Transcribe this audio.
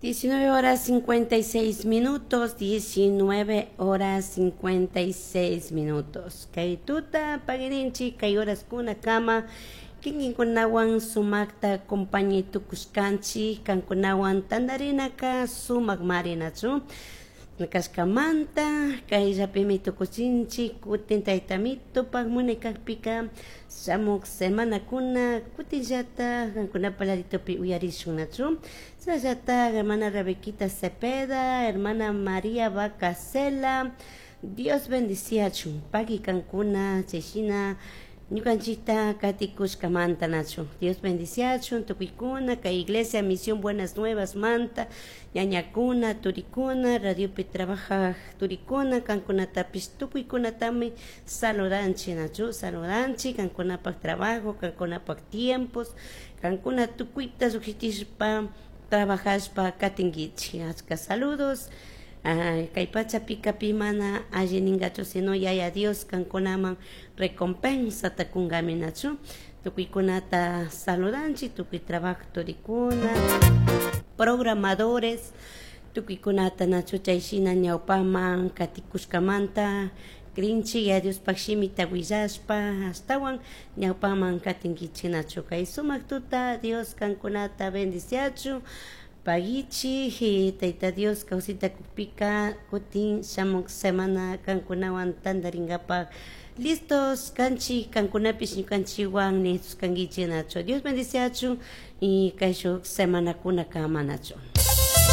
19 horas 56 minutos, 19 horas 56 minutos. Kay tuta pagirinchi kay horaskuna kama kikinkunawan sumakta compañi tukushkanchik kankunawan tantarinaka sumak marinachu kashkamanta kayllapimi tukuchinchik kutin taytamitupak munay kakpika shamuk semanakuna kutinllata kankunapa laditopi uyarishunnachu chashnallata hermana Rebequita Cepeda, hermana María Bacasela, Dios bendiciachun paki kankuna chayshina ñukanchikta katikushkamanta nachu Dios bendiciachun tukuykuna kay iglesia Misión Buenas Nuevas manta ñañakuna turikuna radiopi trabajaj turikuna kankunatapish tukuykunatami saludanchik nachu saludanchik kankunapak trabajo kankunapak tiempos kankuna tukuyta llukshitishpa trabajashpa katinkichik achka saludos. Kay pachapika pi mana alli ningachu sino yaya Dios kankunaman recompensata kunkami nachu tukuykunata saludanchik tukuy trabajo turikuna programadores tukuykunata nachu chayshina ñawpaman katikushkamanta krinchik ya Diospak shimita willashpa ashtawan ñawpaman katinkichik nachu kay sumak tuta Dios kankunata bendiciachun pagichi Tayta Dios kawsayta kukpika kutin shamuk semana kankunawan tantarinkapak listos kanchik kankunapish ñukanchikwan listos kankichik nachu Dios bendiciachun y kayshuk semanakuna kama nachu.